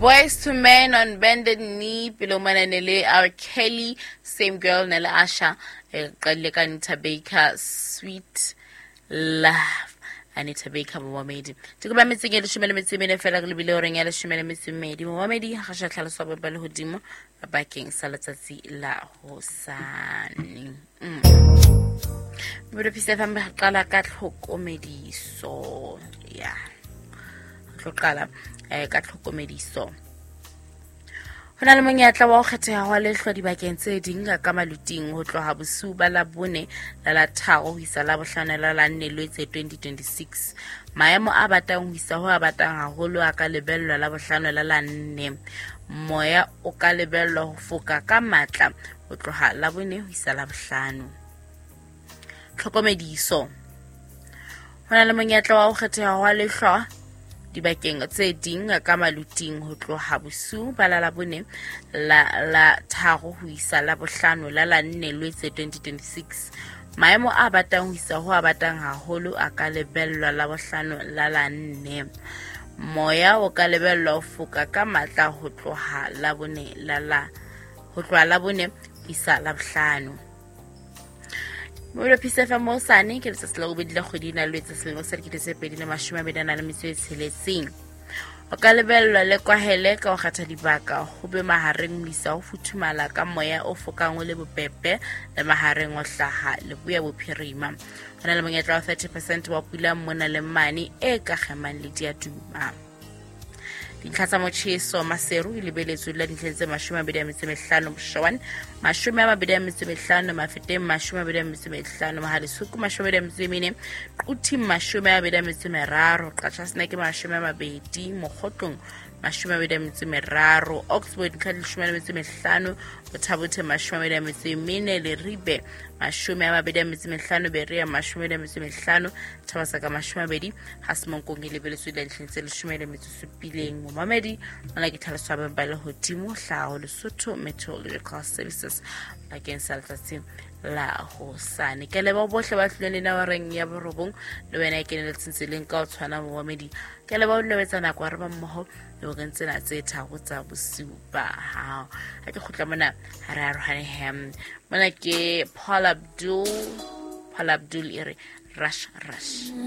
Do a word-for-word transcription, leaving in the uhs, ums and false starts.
Boyz two Men on Bended Knee, pele mona ne le R. Kelly, Same Girl ne le Usher, e qadile ka Anita Baker, Sweet Love. Anita Baker momamedi. Ke ba metseng e leshome le metso e mene fela re lebile horeng ya leshome le metso e mmedi. Momamedi ga sha tlhaloso ba le hodimo bakeng sa letsatsi la hosane. Mm. Mmudo Peace F M re qala ka tlhokomediso. Ya. Tlo qala eh ka tlhokomediso. Ho na le monyetla wa ho kgetheha hwa lehlwa dibakeng tse ding ka maluting ho tloha bosiu ba Labone la la tharo ho isa Labohlano la la nne Lwetse twenty twenty-six. Maemo a batang ho isa ho a batang haholo a ka lebellwa Labohlano la la nne. Moya o ka lebellwa ho foka ka matla ho tloha Labone ho isa Labohlano. Tlhokomediso. Ho na le monyetla wa ho kgetheha hwa lehlwa dibakeng tse ding ka maluting ho tloha bosiu ba la Labone la la tharo ho isa Labohlano la la nne Lwetse twenty twenty-six. Maemo a batang ho isa ho a batang haholo a ka lebellwa Labohlano la la nne. Moya o ka lebellwa ho foka ka matla ho tloha Labone la la ho tloha Labone ho isa Labohlano. Mmudo Peace F M hosane ke letsatsi la bobedi la kgwedi ena Lwetse selemo sa dikete tse pedi le mashome a mabedi a nang le metso e tsheletseng. O ka lebellwa le kwahele ka ho kgetha dibaka ho be mahareng ho isa ho futhumala ka moya o fokang o le bobebe le mahareng o hlaha leboya bophirima. Ho na le monyetla wa thirty percent wa pula mona le mane e ka kgemang le diaduma. Dintlha tsa motjheso Maseru e lebeletswe la dintlha tse mashome a mabedi a metso e mehlano Boshowane, mashome a mabedi a metso e mehlano Mafeteng, mashome a mabedi a metso e mehlano Mohalesuku, mashome a mabedi a metso e mene Quthing, mashome a mabedi a metso e meraro Qachaseneke, mashome a mabedi Mokgotlong, mashome a mabedi a metso e meraro Oxford, dintlha di leshome le metso e mehlano Bothabothe, mashome a mabedi a metso e mene Leribe, mashome a mabedi a metso e mehlano Berea, mashome a mabedi a metso e mehlano Thabasaka, mashome a mabedi Hasemonkong e lebeletswe la dintlha tse leshome le metso e supileng. Momamedi mona ke tlhaloso ya ba le hodimo hlaho Lesotho Meteorological Services bakeng sa letsatsi la hosane. Ke leboha bohle ba tlileng le nna horeng ya borobong le wena e keneletseng tseleng ka ho tshwana momamedi. Ke leboha ho etsa nako ya re ba mmoho le horeng tsena tse tharo tsa bosiu ba hao. Ha ke kgutla mona ha re arohane hem. Mona ke Paul Abdul, Paul Abdul e re Rush Rush.